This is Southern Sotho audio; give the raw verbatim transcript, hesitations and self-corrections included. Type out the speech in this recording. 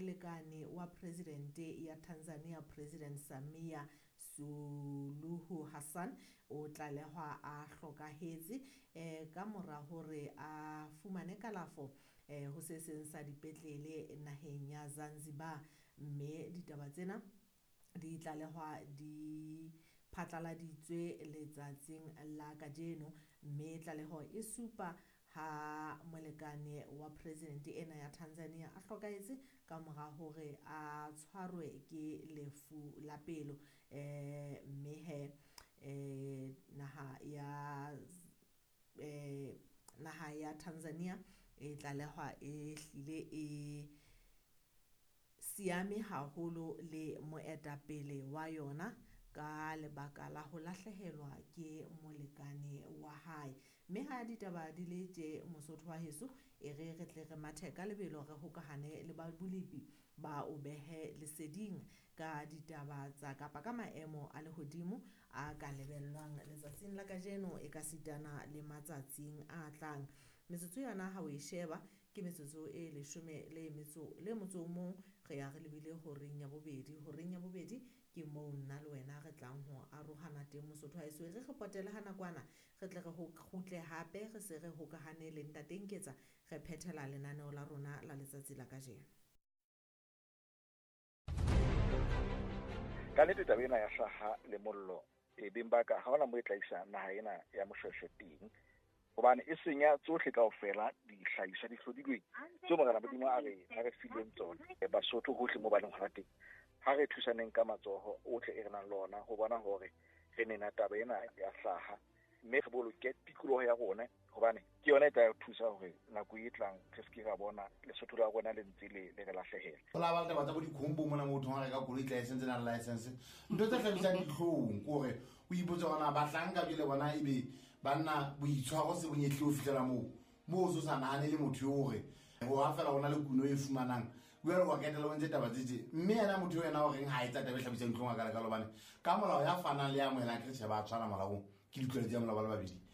Molekane wa presidente ya Tanzania, President Samia Suluhu Hassan, o tlalehwa a hlokahetse eh ka mora hore a fumane kalafo eh ho se seng sa dipetlele naheng ya Zanzibar. Mme ditaba tsena di tlalehwa di phatlaladitswe letsatsing la kajeno, mme tlaleho e supa ha molekane wa president ena ya Tanzania a hlokahetse ka mora hore a tshwarwe ke lefu la pelo. Eh mme he eh naha ya eh naha ya Tanzania e tlalehwa e hlile e siame haholo le moetapele wa yona ka lebaka la ho lahlehelwa ke molekane wa hae. Mme ha ditaba di le tje, Mosotho wa heso, e re re tle re mathe ka lebelo re hokahane le ba bolepi ba o behe leseding ka ditaba tsa kapa ka maemo a lehodimo a ka lebellwang letsatsing la kajeno e ka sitana le matsatsing a tlang. Metsotso yona ha o e sheba ke metsotso e leshome le metso le motso o mong, re ya re lebile horeng ya bobedi. Horeng ya bobedi ke moo nna le wena re tlang ho arohana teng, Mosotho wa heso. E re re potele ha nakwana, re tle re ho kgutle hape re se re hokahane le Ntate Nketsa, re phethela lenaneo la rona la letsatsi la kajeno. Ka nnete taba ena ya hlaha le mollo e beng ba ka ha hona mo e tla isa naha ena ya Moshweshwe teng, hobane e senya tsohle kaofela dihlahiswa di hlodilweng tseo Morena Modimo a re a re fileng tsona. Basotho hohle mo ba leng hona teng, ha re thusaneng ka matsoho ohle e re nang le ona ho bona hore re nena taba ena ya hlaha, mme re boloke tikoloho ya rona, hobane ke yona e tla re thusa hore nako e tlang re se ke ra bona Lesotho la rona le ntse le le re lahlehela. Ho la ba le taba tsa bo dikhombo mona motho ha reka koloi license na license, ntho tse hlabisang dihlong ke hore o ipotse hore na bahlanka jwale bona ebe banna boitshwaro se bonyehle ho fihlela moo moo o so sa nahane le motho eo hore ho ha fela hona le kuno e fumanang jwale wa ketela o ntse taba tse tje. Mme yena motho eo yena o reng ha etsa taba e hlabisang dihlong a ka lekalo, hobane ka molao ya fanang le ya amohelang ke tjhe ba tshwana molaong, ke ditlwaelo tsa molao ba le babedi.